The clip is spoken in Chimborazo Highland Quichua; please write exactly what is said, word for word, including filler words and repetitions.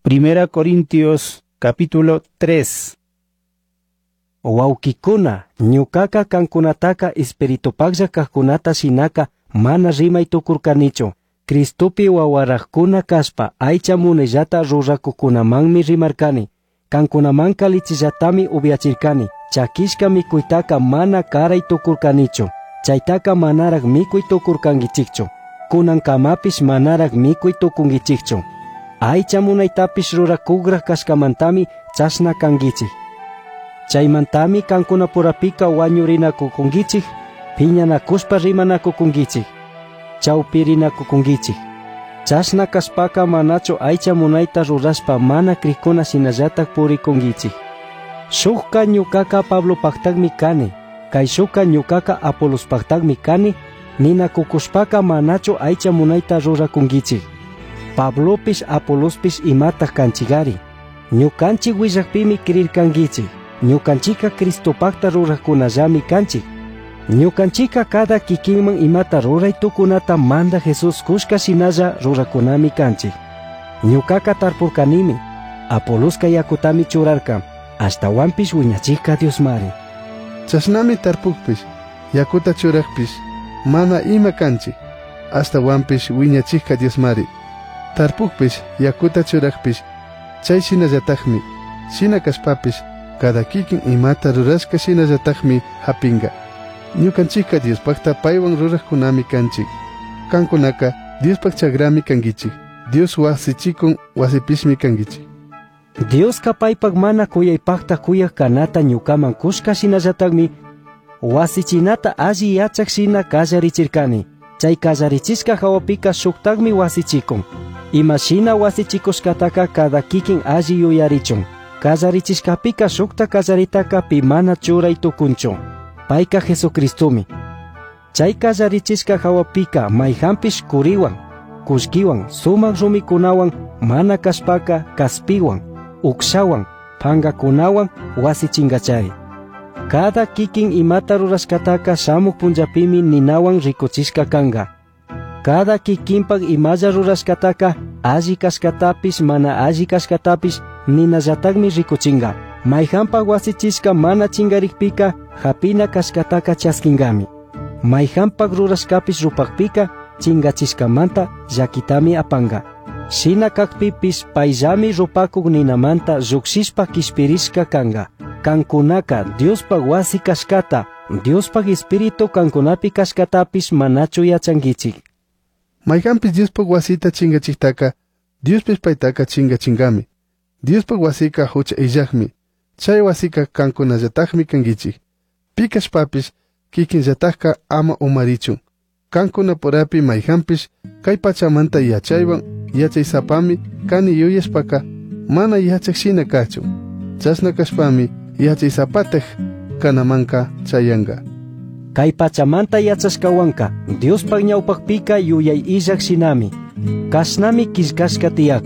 Primera Corintios capítulo tres. Wawqikuna, ñuqaqa kankunataka espiritupaqlla kaqkunata shinaka mana rimay tukurkanichu. Cristopi wawaraqkuna kaspa aycha munayllata rurakuqkunamanmi rimarkani. Kankunamanqa lichillatami upyachirkani. Chakishka mikuytaka mana karay tukurkanichu. Chaytaka manaraq mikuy tukurkankichikchu. Kunankamapish manaraq mikuy tukunkichikchu. Aycha munaytapish rurakuqraq kashkamantami chashna kankichik. Chaymantami kankunapurapika wañurinakukunkichik, phiñanakuspa rimanakukunkichik, chawpirinakukunkichik. Chashna kashpaka manachu aycha munayta rurashpa mana krikuna shinallatak purikunkichik. Shukka ñuqaka Pablopaqtaqmi kani, kayshukka ñuqaka Apolospaqtaqmi kani, ninakukushpaka manachu aycha munayta rurakunkichik. Pablopish Apolospish imataq kanchikari. Ñukanchik willakpimi krirkankichik. Ñukanchika Cristopaqta ruraqkunallami kanchik. Ñukanchika cada kikinman imata ruray tukunata manda Jesús kushka shinalla rurakunami kanchik. Ñuqaka tarpurkanimi, Apoloska yakutami churarka, ashtawanpish wiñachikka Diosmari. Chashnami tarpukpish, yakuta churaqpish, mana ima kanchik, ashtawanpish wiñachikka Diosmari. Tarpukpish, yakuta churaqpish, chay shinallatakmi, shina kashpapish, cada kikin imata rurashka shinallatakmi hapinga. Ñukanchikka Diospaqta paywan ruraqkunami kanchik. Kankunaka Diospaq chakrami kankichik. Dios wasichikun wasipishmi kankichik. Dioska paypaq mana kuyaypaqta kuyaq kanata ñukaman kushka shinallatakmi wasichinata alli yachaq shina kallarichirkani. Chay kallarichishka hawapika shuktaqmi wasichikun. Imashina wasichikushkataka cada kikin alli yuyarichun. Kallarichishkapika shukta kallaritaka pi mana churay tukunchu. Payka Jesucristomi. Chay kallarichishka hawapika mayhanpish kuriwan, kullkiwan, sumaq rumikunawan, mana kashpaka kaspiwan, ukshawan, pangakunawan wasichinkachari. Cada kikin imata rurashkataka shamuq punllapimi ninawan rikuchishka kanka. Cada kikinpak imalla rurashkataka alli kashkatapish mana alli kashkatapish ninallatakmi rikuchinka. Mayhanpak wasichishka mana chinkarikpika hapina kashkataka chaskinkami. Mayhanpak rurashkapish rupakpika chinkachishkamanta llakitami apanka. Shina kakpipish payllami rupakuk ninamanta llukshishpa kishpirishka kanka. Kankunaka Diospaq wasi kashkata, Diospaq Espíritu kankunapi kashkatapish manachu yachankichik. Mayhanpish Diospaq wasita chinkachiktaka, Diospish paytaka chinkachinkami. Diospaq wasika hucha illaqmi. Chay wasika kankunallatakmi kankichik. Pi kashpapish kikinllatakka ama umarichun. Kankunapurapi mayhanpish kay pachamanta yachaywan yachaysapami kani yuyashpaka mana yachaq shina kachun. Chashna kashpami yachaysapataj kanamanka chayanka. Kay pachamanta yachashkawanka Diospaq ñawpaqpika yuyay illaq shinami. Kashnami killkashka tiyakun.